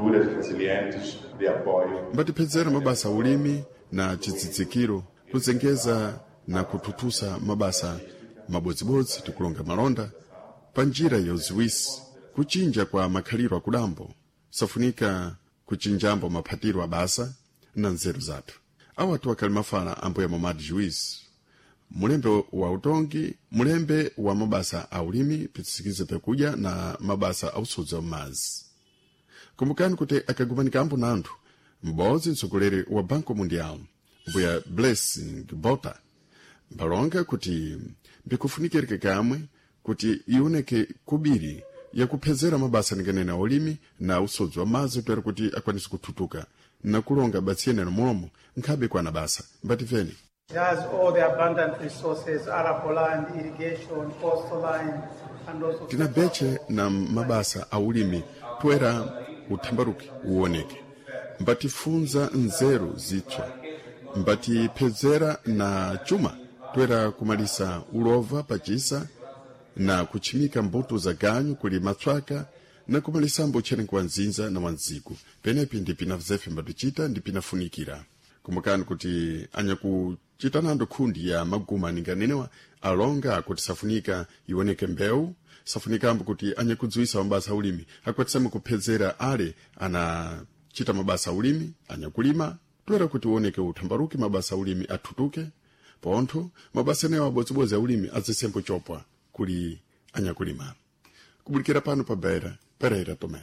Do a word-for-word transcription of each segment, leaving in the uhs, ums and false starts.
culturas resilientes de apoio. Mbatipezera mabasa ulimi na chidzidzikiro kuzengeza na kuthuthusa mabasa mabodzibodzi tikulonga malonda pa njira yoziwisi kuchinja kwa makhaliro akudambo safunika kuchinjambo maphatiro abasa na nzeru zathu. Awatu akhali mafala ambuya Momad Juiz, mulembe wa utongi, mulembe wa mabasa a ulimi pitsirikize pekudya na mabasa a usodzi wa m'madzi. Kumbukani kuti akagumanika na anthu m'bodzi mtsogoleri wa Banco Mundial, mbuya Blessing Bota, mpalonga kuti mbikufunikirike kamwe kuti ioneke kubiri yakuphezera mabasa ninganene a ulimi na usodzi wa madzi toera kuti akwanise kuthutuka na kulonga batsiyenero mulomo nkhabe kwana basa. Mbatimveni. It has all the abundant resources, arable land, irrigation, coastal line, and also Tina beche na mabasa a ulimi toera uthambaruki uwoneke, mbatifunza nzeru zitswa, mbatiphezera na chuma toera kumalisa ulova pachisa na kutchimika mbuto za ganyu kuli matswaka na kumalisambo utcherengo wa nzinza na wanziku. Penepi ndi pina zefe mbatichita ndi pinafunikira. Kumbukani kuti anyakuchitanando khundi ya maguma aninganenewa alonga kuti safunika ioneke mbewu, safunikambo kuti anyakudziwisa mabasa aulimi akwatisame kuphezera ale anachita mabasa aulimi anyakulima toera kuti uoneke uthambaruki mabasa aulimi athutuke pontho mabasa enewo abodzibodzi aulimi azisembo chopwa kuli anyakulima. Kubulikira pano pa Beira, Pereira Tomé.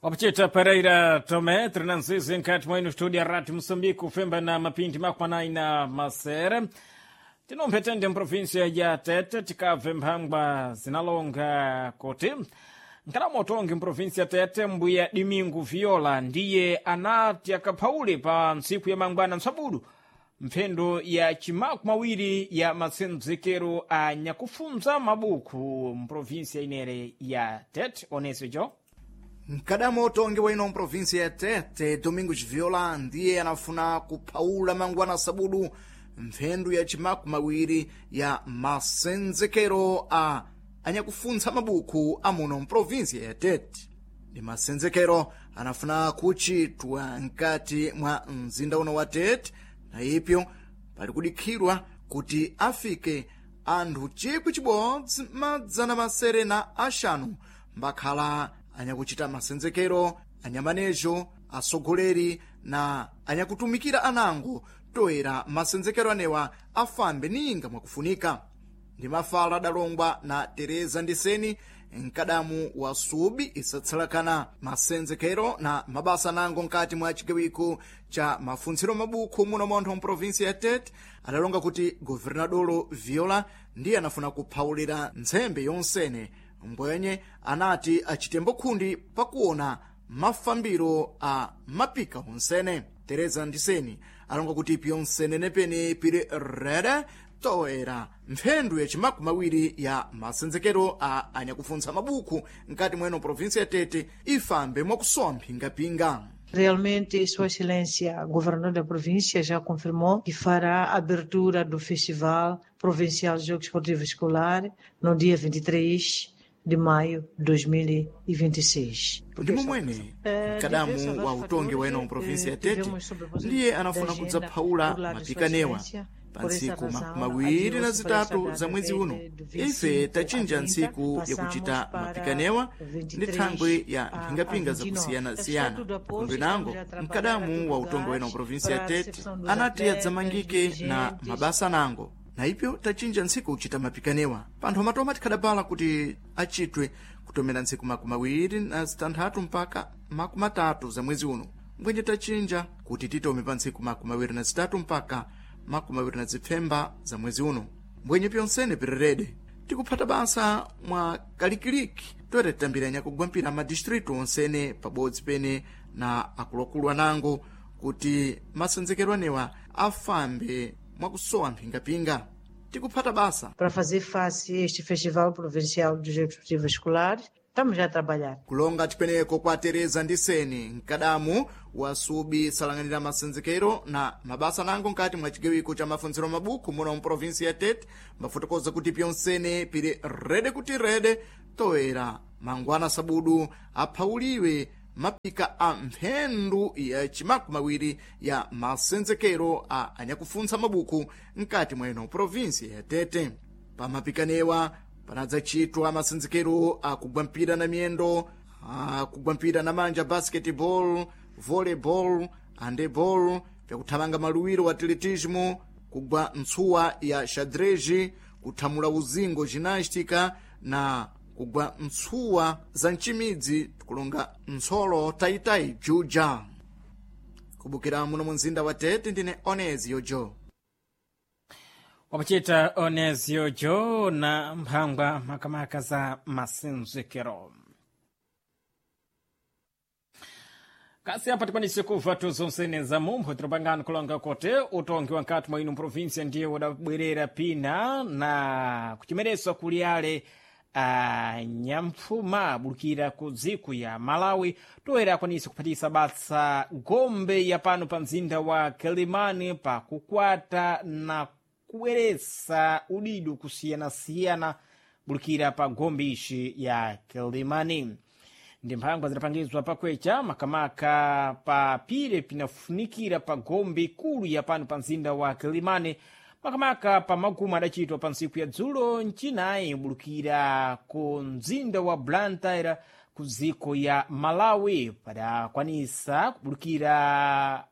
Wapachita Pereira Tomé, trinanzizi nkati mwenu studio ya Rádio Moçambique, kufemba na mapindi makwanayi na masere. Tinomphetende mprovinsia ya Tete, tikabve mphangwa zinalonga kuti nkalamotongi mprovinsia Tete, mbuya Domingo Viola ndiye anati akaphaule pa ntsiku ya mangwana ntsabudu mphendo ya chimaku mawiri ya matsendzekero a nyakufunza mabuku mprovinsia inere ya Tete. Onesejo. Mkadamo utongi wa ino mprovinsia ya Tete, Domingos Viola ndiye anafuna kuphawula mangwana sabudu mphendu ya chimaku mawiri ya masenzekero a anyakufuntsa mabuku amuno mprovinsia ya Tete. Ndi masenzekero anafuna kuchitwa mkati mwa mzinda uno wa Tete, na ipyo pali kudikhidwa kuti afike anthu chikwi chibodzi madzana masere na axanu mbakhala anyakuchita masenzekero, anyamanejo, atsogoleri na anyakutumikira anango toera masenzekero anewa afambe ninga mwakufunika. Ndi mafala adalongwa na Tereza Ndiseni, mkadamu wa subi isatsalakana masenzekero na mabasa anango nkati mwa chigawiko cha mafuntsiro mabukhu muno montho mprovinsi ya Tete, adalonga kuti governadolo Viola ndiye anafuna kuphawulira ntsembe yonsene mbwenye anati achitembo khundi pakuona mafambiro a mapika onsene. Tereza Ndiseni alonga kuti pyonsene nepene pili rere toera mphendu ya chimakumi mawiri ya masenzekero a anyakufuntsa mabuku mkati mweno provinsi ya Tete ifambe mwakusowa mphingapinga. Realmente, Sua Excelência, Governador da Província, já confirmou que fará a abertura do Festival Provincial de Jogos Esportivos Escolar no dia vinte e três de maio de dois mil e vinte e seis. Ndi momwene mkadamu wa utongi wa ino mprovinsi ya Tete ndiye anafuna kudzaphawula mapikanewa pa ntsiku makumi awiri na zitatu za mwezi uno. Ife tachinja ntsiku yakuchita mapikanewa ndi thangwe ya mphingapinga zakusiyanasiyana. Kundwe nango mkadamu wa utongi wa ino mprovinsi ya Tete anati adzamangike na mabasa nango, na ipyo tachinja ntsiku kuchita mapikanewa. Panthu amatoma tikhadapala kuti achitwe kutomera ntsiku makumi awiri na zitanthatu mpaka makumi atatu za mwezi uno, mbwenje tachinja kuti titome pa ntsiku makumi awiri na zitatu mpaka makumi awiri na zipfemba za mwezi uno. Mbwenye pyonsene pirerede tikuphata basa mwa kalikiliki toere titambira nyakugwampira madistritu onsene pabodzi pene na akuluakulu anango kuti masenzekero anewa afambe mwakusowa mphingapinga. Tikuphata basa Para fazer face a este Festival Provincial dos Jogos Esportivos Escolares, estamos já a trabalhar. Kulonga chipeneko kwa Tereza Ndiseni, mkadamu wa subi salang'anira masenzekero na mabasa nango nkati mwa chigawiko cha mafunziro mabuku muno mprovinsi ya Tete, mbafotokoza kuti pyonsene pili rede kuti rede toera mangwana sabudu aphauliwe mapika a mphendu ya chimakumawiri ya masenzekero a anyakufuntsa mabuku mkati mweno provinsi ya Tete. Pamapikanewa panadzachitwa masenzekero akugwa mpira na miyendo, akugwa mpira na manja basketball, volleyball, handeball, vyakuthamanga maluwiro wa atletismo, kugwa ntsuwa ya xadrez, kuthamula uzingo ginástica na kugwa ntsuwa za mcimidzi tikulonga ntsolo tayitayi juja. Kubukira muno mu mzinda wa Tete ndine Onezi Yojo. Wapachita Onezio Jo na mphangwa makamaka za masenzekero. Kasi apa tikwanise kuva tuzonsene za mumpho tilipangano kulonga kote utongi wa nkati mwa ino provinsia ndiye udabwerera pina na kuchimereswa kuli ale a nyamfuma abulukira ku dziko ya Malawi toera akwanise kuphatisa basa gombe ya pano pa mzinda wa Quelimane pa kukwata na kubweresa udidu kusiyanasiyana bulukira pa gombe ishi ya Quelimane. Ndi mphangwa zidapangizwa pakwecha makamaka pa pire pinafunikira pa gombe ikulu ya pano pa mzinda wa Quelimane makamaka pa magumu adachitwa pa ntsiku ya dzulo mchinayi bulukira ku mzinda wa Blantyre ku dziko ya Malawi padakwanisa kubulukira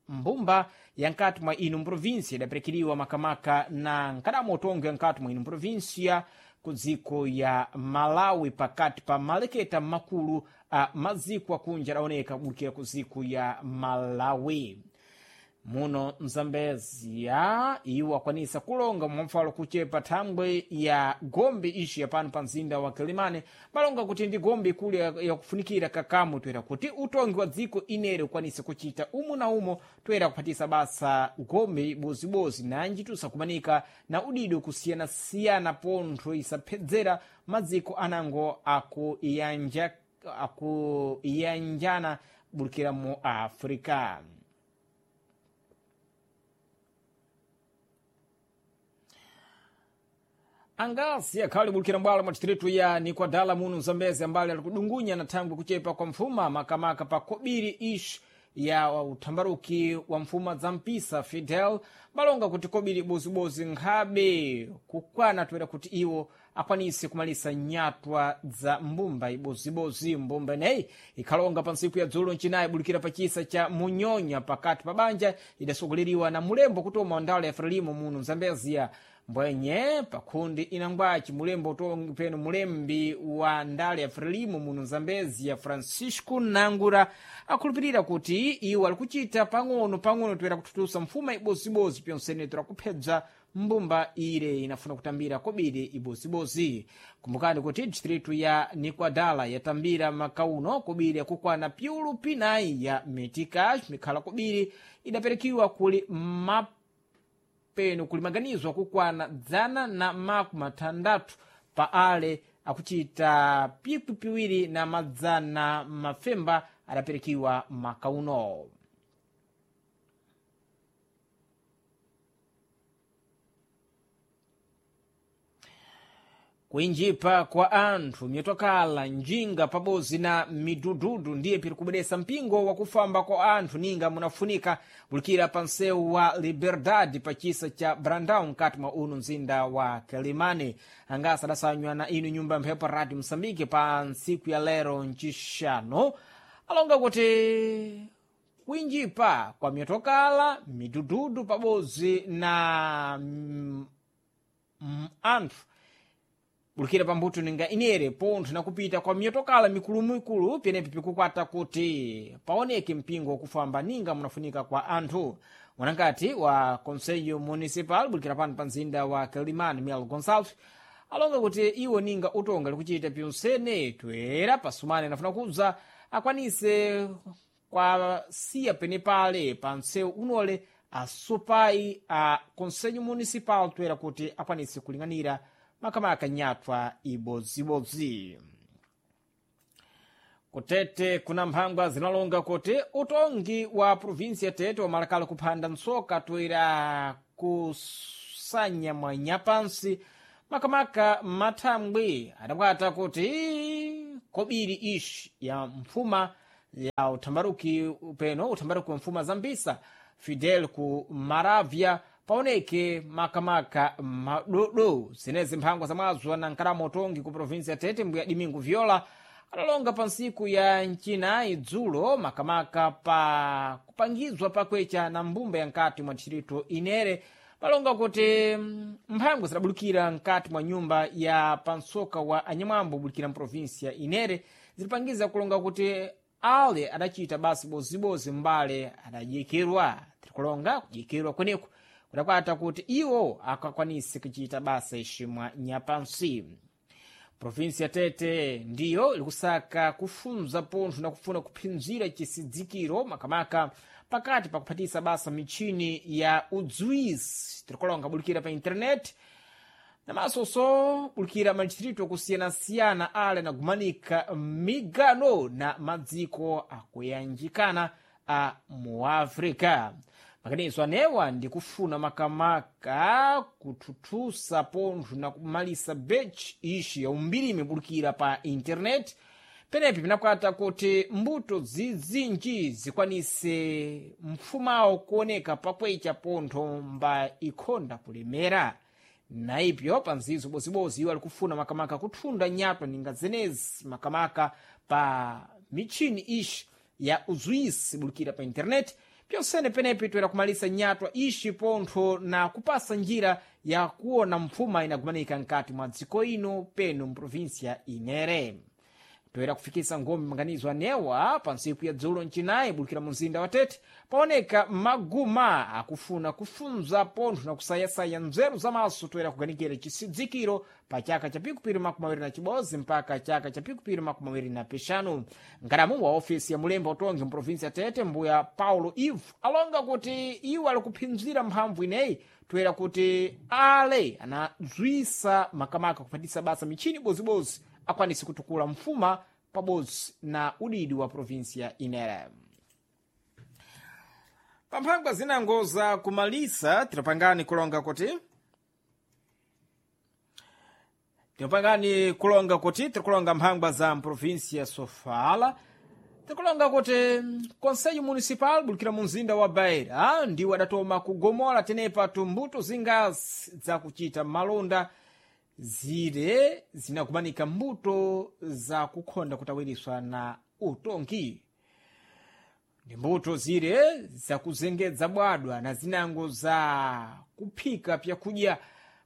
mbumba ya nkati mwa ino mprovinsia idaperekeriwa makamaka na nkadamo utongi wa nkati mwa ino mprovinsia ku dziko ya Malawi pakati pa maleketa makulu a maziko akunja adaoneka kubulukira ku dziko ya Malawi. Muno mzambezia iwo akwanisa kulonga mwamfalo kuchepa thambwe ya gombe ishi yapano pa mzinda wa Quelimane balonga kuti ndi gombe ikulu yakufunikira kakamu toera kuti utongi wa dziko inere ukwanise kuchita umo na umo toera kuphatisa basa gombe ibozibozi nanji tusakumanika na udido kusiyanasiyana pontho isaphedzera madziko anango akuyanja akuyanjana bulukira mu Africa. Angasi akhali bulukira mbwalo mwa distritu ya Nikwadala muno Mzambezi ambali ali kudungunya na thangwi kuchepa kwa mfuma makamaka pa kobiri ishi ya uthambaruki wa mfuma za mpisa Fidel balonga kuti kobiri bozibozi nkhabe kukwana toera kuti iwo akwanise kumalisa nyatwa za mbumba ibozibozi. Mbumba ineyi ikhalonga pa ntsiku ya dzulo mchinayi bulukira pa chisa cha Munyonya pakati pa banja idasogoleriwa na mulembo kutoma wa ndala ya Frelimo muno Mzambezia mbwenye pakhundi inangwaci mulembo utongi peno mulembi wa ndale ya Frelimo muno Zambezia Francisco Nangura akhulupirira kuti iwo ali kuchita pang'ono pang'ono toera kuthutusa mfuma ibozibozi pyonsene toera kuphedza mbumba ire inafuna kutambira kobiri ibozibozi. Kumbukani kuti distritu ya Nikwadala yatambira makauno kobiri yakukwana piulu pinayi ya metikash mikhala kobiri idaperekiwa kuli map peno kulimaganizwa kukwana dzana na makumi atandatu pa ale akuchita pikwi piwiri na madzana mafemba adaperekiwa makauno. Kuinjipa kwa anthu myotokala njinga pabodzi na midududu ndiye piri kubweresa mpingo wakufamba kwa anthu ninga munafunika bulukira pa msewu wa Liberdade pa chisa cha Brandão mkati mwa uno mzinda wa Quelimane. Angasa adasanywa na inu nyumba mphepo Radio Msambike pa ntsiku ya lero ncixano alonga kuti kuinjipa kwa myotokala midududu pabodzi na mm, mm, anthu bulukira pambuto ninga inere pontho nakupita kwa miyotokala mikulumikulu penepi pikukwata kuti paoneke mpingo wakufamba ninga munafunika kwa anthu. Mwanangati wa Conselho Municipal bulukira pano pa mzinda wa Quelimane Mel Gonçalves alonga kuti iwo ninga utonga likuchita pyonsene toera pasumane anafuna kubza akwanise kwasiya penepale pa msewu unole asupai a Conselho Municipal toera kuti akwanise kuling'anira makamaka nyatwa ibodzibodzi. Kutete kuna mphangwa zinalonga kuti utongi wa provinsi ya Tete wamalakala kuphanda ntsoka toera kusanya mwanyapansi makamaka mathambwe adakwata kuti kobiri ishi ya mfuma Ya uthambaruki peno uthambaruki wa mfuma zambisa Fidel ku Maravya paoneke makamaka madodo zenezi mphangwa za mwazo na nkalamo utongi ku provinsi ya Tete mbuya Domingo Viola adalonga pa ntsiku ya ncinayi dzulo makamaka pa kupangizwa pakwecha na mbumba ya nkati mwa distrito Inere palonga kuti mphangwa zidabulukira nkati mwa nyumba ya pansoka wa anyamwambo bulikira mprovinsi ya Inere zilipangiza kulonga kuti ale adacita basi bozibozi mbale adadyekерwa tirikulonga kudyekерwa kweneku kudakwata kuti iwo akakwanise kuchita basa iximwa nyapansi. Provinsi ya Tete ndiyo ilikusaka kufunza pontho na kufuna kuphinzira chisidzikiro makamaka pakati pakuphatisa basa michini ya udzwisi tirikulonga bulikira pa intaneti namasoso bulikira madistrito akusiyana-siyana ale anagumanika migano na madziko akuyanjikana a muafrika. Makanizo anewa ndi kufuna makamaka kuthuthusa pontho na kumalisa bechi ixi ya umbirimi bulikira pa intaneti penepi pinakwata kuti mbuto zizinji zikwanise mfumawo kuoneka pakwecha pontho mba ikhonda kulemera. Naipyo pa nzizo bozibozi iwo alikufuna makamaka kuthunda nyatwa ninga zenezi makamaka pa michini ixi ya uzwisi bulikira pa intaneti pyonsene penepi toera kumalisa nyatwa ixi pontho na kupasa njira ya kuona mfuma inagumanika nkati mwa dziko ino peno mprovinsia Inere. Toera kufikisa ngombe maganizo anewa pa ntsiku ya dzulo ncinayi bulikira mumzinda wa Tete paoneka maguma akufuna kufunza pontho na kusayasaya nzeru zamaso toera kuganikira chisidzikiro pa chaka cha pikupiri makumi awiri na chibodzi mpaka chaka cha pikupiri makumi awiri na pixanu. Nkalamu wa ofisi ya mulembo utongi mprovinsi ya Tete mbuya Paulo Ivo alonga kuti iwo alikuphinzira mphamvu ineyi toera kuti ale anadzwisa makamaka kuphatisa basa michini bozibozi akwanise kutukula mfuma pabodzi na udidi wa provinsi ya Inere. Pamphangwa zinango za kumalisa tilapangani kulonga kuti tilapangani kulonga kuti tirikulonga mphangwa za mprovinsi ya Sofala tirikulonga kuti Conselho Municipal bulikira mu mzinda wa Beira ndiwo adatoma kugomola tenepa tumbuto zingazi zakuchita malonda zire zinakumanika mbuto za kukhonda kutawiriswa na utongi ndi mbuto zire zakuzengedza bwadwa na zinango za kuphika pyakudya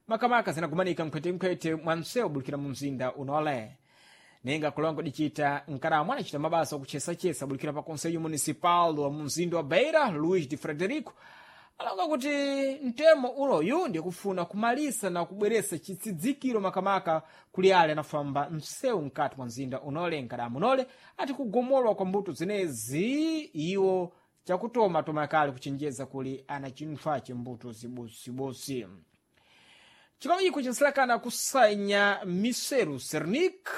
makamaka zinakumanika mkhwetenkhwete mwa msewu bulikira mu mzinda unole nenga kulongo dicita nkaramu anacita mabasa okuchesachesa bulikira pa Conselho Municipal wa mumzinda wa Beira Luís de Frederico alonga kuti mtemo unoyu ndikufuna kumalisa na kubweresa chitsidzikiro makamaka kuli ale anafamba msewu mkati mwa mzinda unole. Nkadamu unole ati kugomolwa kwa mbuto zenezi iwo chakutoma toma kale kuchenjeza kuli ana chinthwache mbuto zibozibozi. Chikawiko chinsilakana kusanya miseru Cernic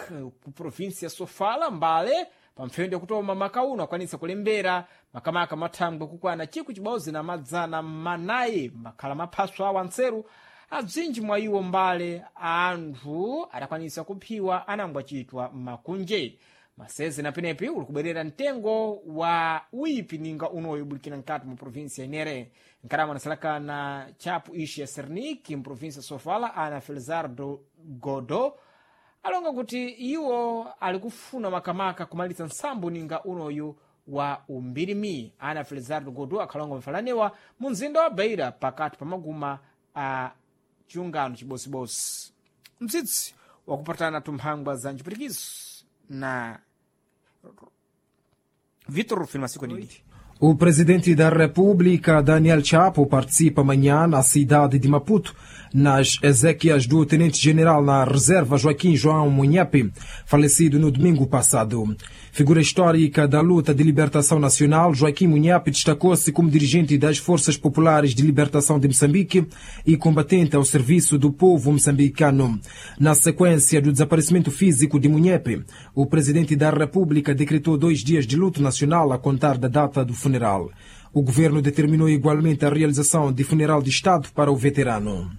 ku provinsi ya Sofala mbale pamphendo yakutoma makauno akwanisa kulembera makamaka mathangwe kukwana chikwi chibodzi na madzana manayi makhala maphaso awo antseru abzinji mwa iwo mbale anthu adakwanisa kuphiwa anangwa chitwa makunje maseze na penepi uli kubwerera mtengo wa uipi ninga unoyo bulikira nkati mu provinsi ya Inere. Nkarama anasalakana chapu ishi ya Cernic mprovinsi ya Sofala ana Felizardo Godo alonga kuti iwo alikufuna makamaka kumalitsa nsambo ninga unoyu wa umbirimi. Ana Felizardo Godo akhalonga mfalanewa mu mzinda wa Beira pakati pa maguma a chiungano chibosibosi. Mtsitsi wakupatana tumphangwa za ncipirikizo na Vitor Rufino Masiku Didi. O presidente da República, Daniel Chapo, participa amanhã na cidade de Maputo, nas exéquias do tenente-general na reserva Joaquim João Munhape, falecido no domingo passado. Figura histórica da luta de libertação nacional, Joaquim Munhape destacou-se como dirigente das Forças Populares de Libertação de Moçambique e combatente ao serviço do povo moçambicano. Na sequência do desaparecimento físico de Munhape, o presidente da República decretou dois dias de luto nacional a contar da data do funeral. O governo determinou igualmente a realização de funeral de Estado para o veterano.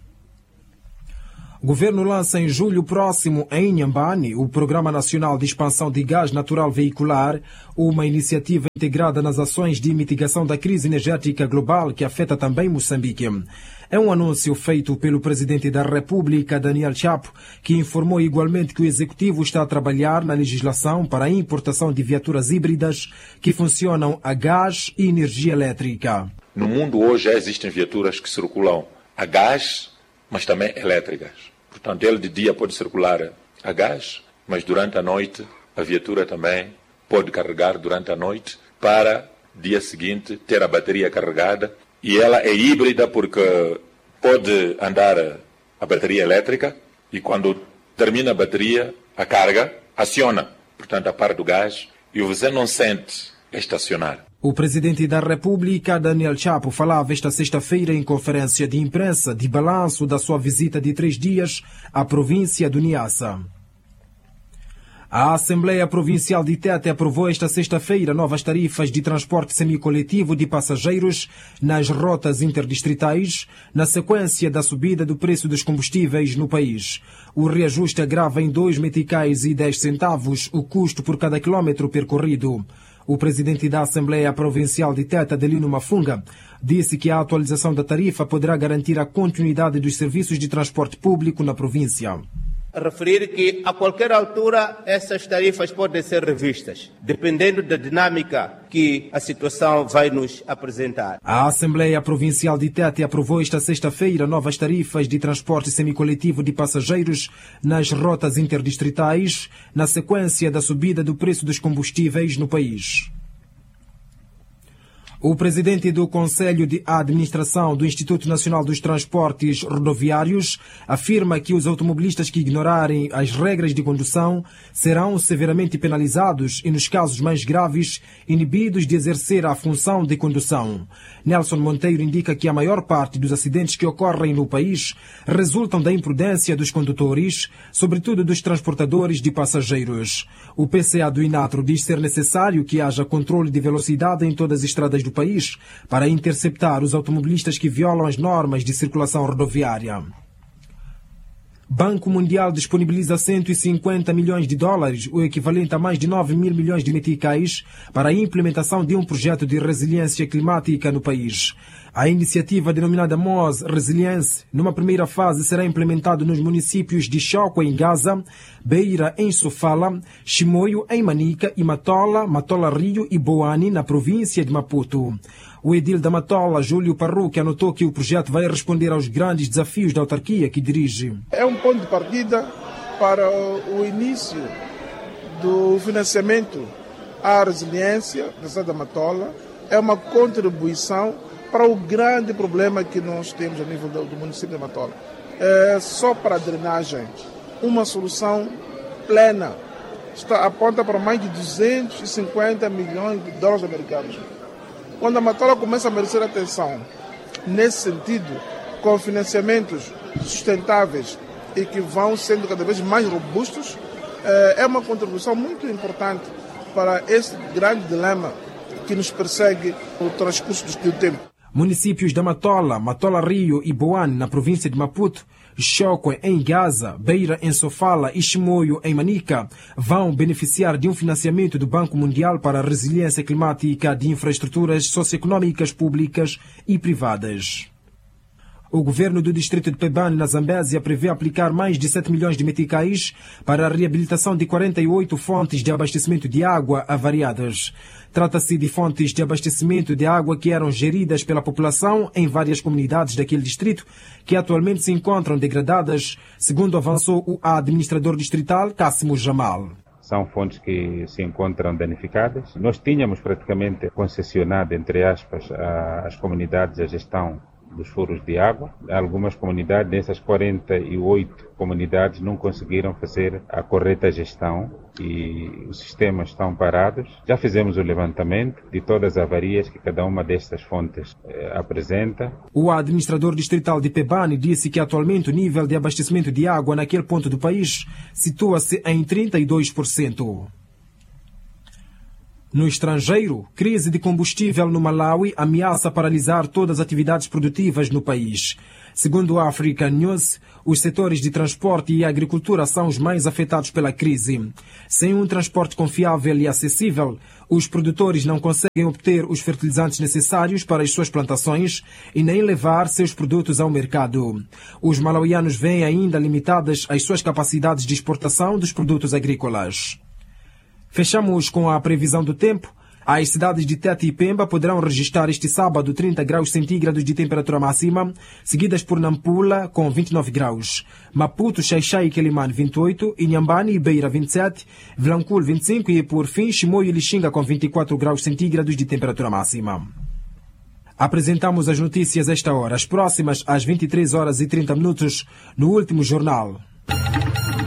O governo lança em julho próximo, em Inhambane, o Programa Nacional de Expansão de Gás Natural Veicular, uma iniciativa integrada nas ações de mitigação da crise energética global que afeta também Moçambique. É um anúncio feito pelo presidente da República, Daniel Chapo, que informou igualmente que o executivo está a trabalhar na legislação para a importação de viaturas híbridas que funcionam a gás e energia elétrica. No mundo hoje já existem viaturas que circulam a gás, mas também elétricas. Portanto, ele de dia pode circular a gás, mas durante a noite a viatura também pode carregar durante a noite para dia seguinte ter a bateria carregada. E ela é híbrida porque pode andar a bateria elétrica e quando termina a bateria, a carga aciona, portanto, a parte do gás e você não sente estacionar. O presidente da República, Daniel Chapo, falava esta sexta-feira em conferência de imprensa de balanço da sua visita de três dias à província do Niassa. A Assembleia Provincial de Tete aprovou esta sexta-feira novas tarifas de transporte semicoletivo de passageiros nas rotas interdistritais, na sequência da subida do preço dos combustíveis no país. O reajuste agrava em dois meticais e dez centavos o custo por cada quilómetro percorrido. O presidente da Assembleia Provincial de Tete, Adelino Mafunga, disse que a atualização da tarifa poderá garantir a continuidade dos serviços de transporte público na província. Referir que a qualquer altura essas tarifas podem ser revistas, dependendo da dinâmica que a situação vai nos apresentar. A Assembleia Provincial de Tete aprovou esta sexta-feira novas tarifas de transporte semicoletivo de passageiros nas rotas interdistritais, na sequência da subida do preço dos combustíveis no país. O presidente do Conselho de Administração do Instituto Nacional dos Transportes Rodoviários afirma que os automobilistas que ignorarem as regras de condução serão severamente penalizados e, nos casos mais graves, inibidos de exercer a função de condução. Nelson Monteiro indica que a maior parte dos acidentes que ocorrem no país resultam da imprudência dos condutores, sobretudo dos transportadores de passageiros. O P C A do Inatro diz ser necessário que haja controle de velocidade em todas as estradas do país para interceptar os automobilistas que violam as normas de circulação rodoviária. Banco Mundial disponibiliza cento e cinquenta milhões de dólares, o equivalente a mais de nove mil milhões de meticais, para a implementação de um projeto de resiliência climática no país. A iniciativa, denominada M O S Resilience, numa primeira fase será implementada nos municípios de Chókwè, em Gaza, Beira, em Sofala, Chimoio, em Manica e Matola, Matola Rio e Boane, na província de Maputo. O edil da Matola, Júlio Parruque, anotou que o projeto vai responder aos grandes desafios da autarquia que dirige. É um ponto de partida para o início do financiamento à resiliência da cidade da Matola. É uma contribuição para o grande problema que nós temos a nível do, do município da Matola. É, só para a drenagem, uma solução plena está, aponta para mais de duzentos e cinquenta milhões de dólares americanos. Quando a Matola começa a merecer atenção, nesse sentido, com financiamentos sustentáveis e que vão sendo cada vez mais robustos, é uma contribuição muito importante para esse grande dilema que nos persegue no transcurso do tempo. Municípios da Matola, Matola Rio e Boane, na província de Maputo, Chókwè, em Gaza, Beira, em Sofala e Chimoio, em Manica, vão beneficiar de um financiamento do Banco Mundial para a Resiliência Climática de Infraestruturas Socioeconômicas Públicas e Privadas. O governo do distrito de Pebane, na Zambésia, prevê aplicar mais de sete milhões de meticais para a reabilitação de quarenta e oito fontes de abastecimento de água avariadas. Trata-se de fontes de abastecimento de água que eram geridas pela população em várias comunidades daquele distrito, que atualmente se encontram degradadas, segundo avançou o administrador distrital, Cássimo Jamal. São fontes que se encontram danificadas. Nós tínhamos praticamente concessionado, entre aspas, às comunidades a gestão dos furos de água. Algumas comunidades, dessas quarenta e oito comunidades, não conseguiram fazer a correta gestão e os sistemas estão parados. Já fizemos o levantamento de todas as avarias que cada uma destas fontes eh, apresenta. O administrador distrital de Pebane disse que atualmente o nível de abastecimento de água naquele ponto do país situa-se em trinta e dois por cento. No estrangeiro, crise de combustível no Malawi ameaça paralisar todas as atividades produtivas no país. Segundo a African News, os setores de transporte e agricultura são os mais afetados pela crise. Sem um transporte confiável e acessível, os produtores não conseguem obter os fertilizantes necessários para as suas plantações e nem levar seus produtos ao mercado. Os malauianos veem ainda limitadas as suas capacidades de exportação dos produtos agrícolas. Fechamos com a previsão do tempo. As cidades de Tete e Pemba poderão registrar este sábado trinta graus centígrados de temperatura máxima, seguidas por Nampula com vinte e nove graus, Maputo, Xaixai e Quelimane vinte e oito, Inhambane e Beira vinte e sete, Vilanculo vinte e cinco e, por fim, Chimoio e Lixinga com vinte e quatro graus centígrados de temperatura máxima. Apresentamos as notícias a esta hora, as próximas às vinte e três horas e trinta minutos, no último jornal.